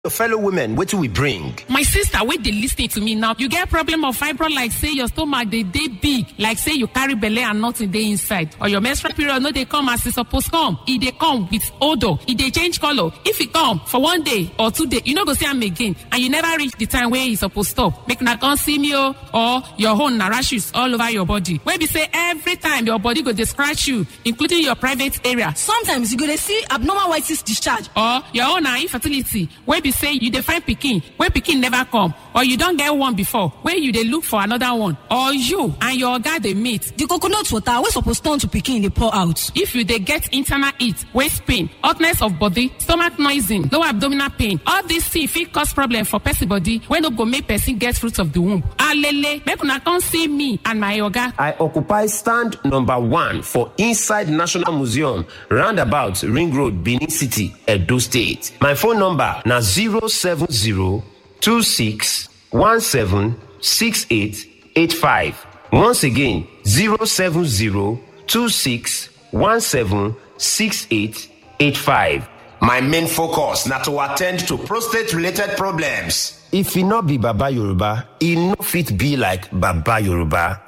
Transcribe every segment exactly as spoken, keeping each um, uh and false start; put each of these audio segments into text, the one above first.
Your fellow women, wetin we bring? My sister, wait, they listening to me now. You get problem of fibroid, like say your stomach, they, they big, like say you carry belle and nothing dey inside, or your menstrual period no dey come as e suppose come. E dey come with odor, e dey change color. If e come for one day or two day, you no go see am again, and you never reach the time wey e suppose stop. Make una come see me o, or your own na rashes all over your body. Wey be say every time your body go dey scratch you, including your private area. Sometimes you go dey see abnormal white cyst discharge. Or your own na infertility, wey be say you dey find pikin, wey pikin never come, or you don get one before, wey you dey look for another one, or you and your oga dey meet. The coconut water wey suppose turn to pikin dey pour out. If you dey get internal heat, waist pain, hotness of body, stomach noising, low abdominal pain, all these things fit cause problem for person body, wey no go make person get fruit of the womb. Alele, make una come see me and my oga. I occupy stand number one for inside National Museum, roundabout Ring Road, Benin City, Edo State. My phone number na zero seven zero two six one seven six eight eight five. Once again, zero seven zero two six one seven six eight eight five. My main focus na to attend to prostate related problems. If e no be Baba Yoruba, e no fit be like Baba Yoruba.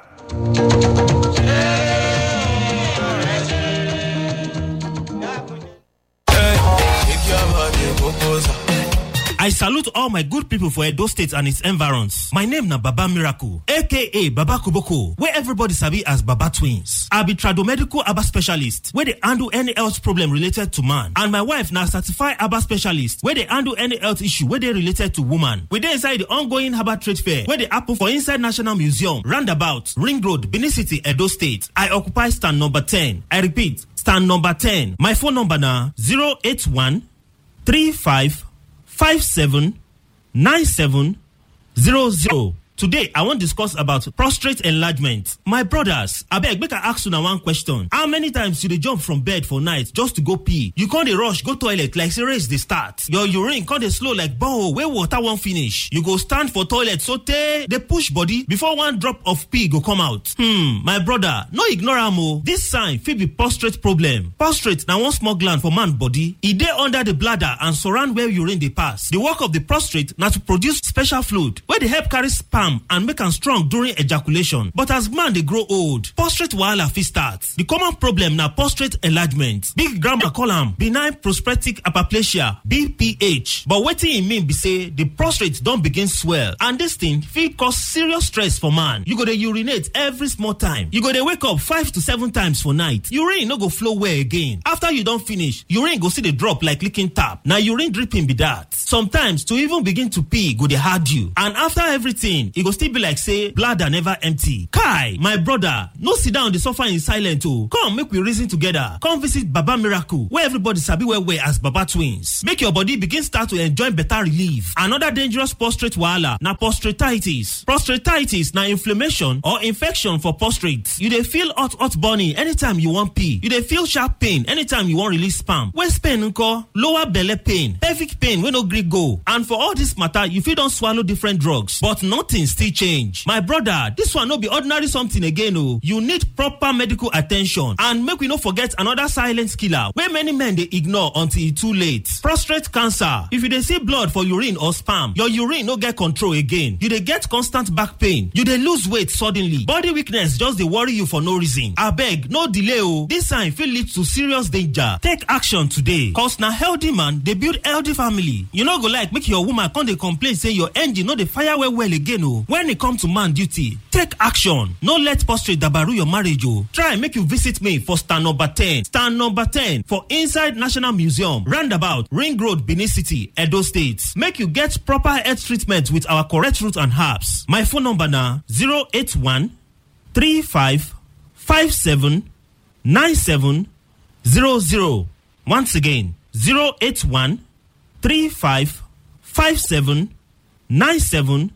I salute all my good people for Edo State and its environs. My name na Baba Miracle, A K A Baba Koboko, where everybody sabi as Baba Twins. I be tradomedical Aba specialist, where they handle any health problem related to man. And my wife na certified Aba specialist, where they handle any health issue where they related to woman. We dey inside the ongoing Herbal Trade Fair, where they happen for inside National Museum, roundabout, Ring Road, Benin City, Edo State. I occupy stand number ten. I repeat, stand number ten. My phone number na zero eight one three five five seven nine seven zero zero. Today, I wan discuss about prostate enlargement. My brothers, abeg, make I ask una one question. How many times you dey jump from bed for night just to go pee? You come dey rush go toilet like say race dey start. Your urine come dey slow like borehole wey water wan finish. You go stand for toilet sotey dey push body before one drop of pee go come out. Hmm, my brother, no ignore am o. This sign fit be prostate problem. Prostate na one small gland for man body. E dey under the bladder and surround where urine dey pass. The work of the prostate na to produce special fluid wey dey help carry sperm and make am strong during ejaculation. But as man dey grow old, prostate wahala fit start. The common problem na prostate enlargement. Big Grandma call am benign prostatic hyperplasia, B P H. But wetin e mean be say the prostate don begin swell, and this thing fit cause serious stress for man. You go dey urinate every small time. You go dey wake up five to seven times for night. Urine no go flow well again. After you don finish, urine go still dey drop like leaking tap. Na urine dripping be that. Sometimes to even begin to pee go dey hard you. And after everything, e go still be like say bladder never empty. Kai, my brother, no sit down dey suffer in silence o. Come make we reason together. Come visit Baba Miracle, where everybody sabi well well as Baba Twins. Make your body begin start to enjoy better relief. Another dangerous prostate wahala na prostatitis. Prostatitis na inflammation or infection for prostate. You dey feel hot hot burning anytime you wan pee. You dey feel sharp pain anytime you wan release sperm. Waist pain nko? Lower belle pain, pelvic pain wey no gree go. And for all this matter, you fit don swallow different drugs, but nothing still change. My brother, this one no be ordinary something again o. You need proper medical attention. And make we no forget another silent killer wey many men dey ignore until e too late. Prostate cancer. If you dey see blood for urine or sperm, your urine no get control again. You dey get constant back pain. You dey lose weight suddenly. Body weakness just dey worry you for no reason. Abeg, no delay o. This sign fit lead to serious danger. Take action today. Cause na healthy man dey build healthy family. You no go like make your woman come dey complain say your engine no dey fire well well again o. When e come to man duty, take action. No let prostate dabaru your marriage o. Try make you visit me for stand number ten. Stand number ten for inside National Museum, roundabout, Ring Road, Benin City, Edo State. Make you get proper health treatment with our correct root and herbs. My phone number na zero eight one three five five seven nine seven zero zero. Once again, zero eight one three five five seven nine seven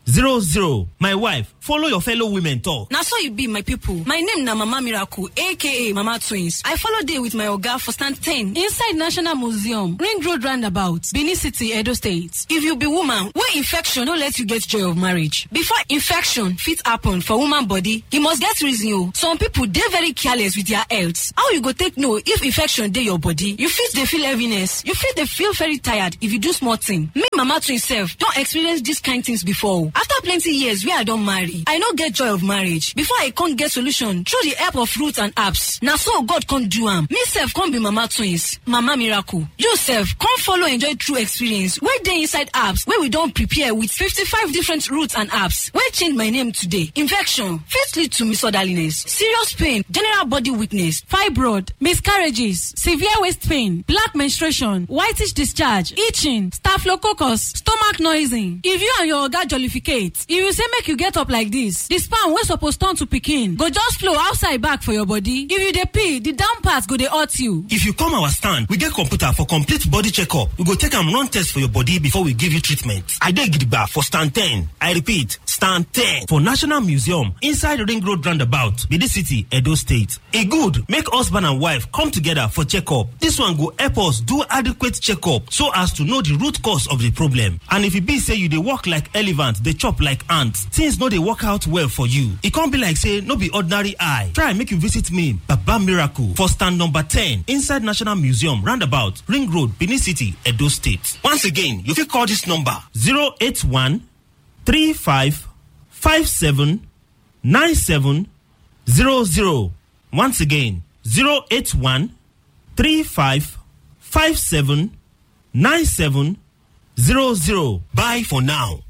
zero zero. My wife, follow your fellow women talk. Na so e be, my people. My name na Mama Miracle, A K A Mama Twins. I follow dey with my oga for stand ten inside National Museum, Ring Road Roundabout, Benin City, Edo State. If you be woman wey infection no let you get joy of marriage, before infection fit happen for woman body, e must get reason o. Some people dey very careless with their health. How you go take know if infection dey your body? You fit dey feel heaviness. You fit dey feel very tired if you do small thing. Me, Mama Twins sef, don experience dis kind things before o. After plenty years wey I don marry, I no get joy of marriage. Before I come get solution through the help of roots and herbs, na so God come do am. Me sef come be Mama Twins, Mama Miracle. You sef come follow enjoy true experience wey dey inside herbs wey we don prepare with fifty-five different roots and herbs wey change my name today. Infection fit lead to misorderliness, serious pain, general body weakness, fibroid, miscarriages, severe waist pain, black menstruation, whitish discharge, itching, staphylococcus, stomach noising. If you and your oga jollificate, if you say make you get up like this, the sperm wey suppose turn to pikin go just flow outside back for your body. If you dey pee, the down part go dey hurt you. If you come our stand, we get computer for complete body checkup. We go take am run test for your body before we give you treatment. I dey gidigba for stand ten. I repeat, stand ten for National Museum inside Ring Road Roundabout, Benin City, Edo State. E good make husband and wife come together for checkup. This one go help us do adequate checkup so as to know the root cause of the problem. And if e be say you dey work like elephant, dey chop like ant, things no dey work out well for you. E come be like say no be ordinary eye. Try make you visit me, Baba Miracle, for stand number ten inside National Museum, roundabout, Ring Road, Benin City, Edo State. Once again, you fit call this number, zero eight one three five five seven nine seven zero zero. Once again, zero eight one three five five seven nine seven zero zero. Bye for now.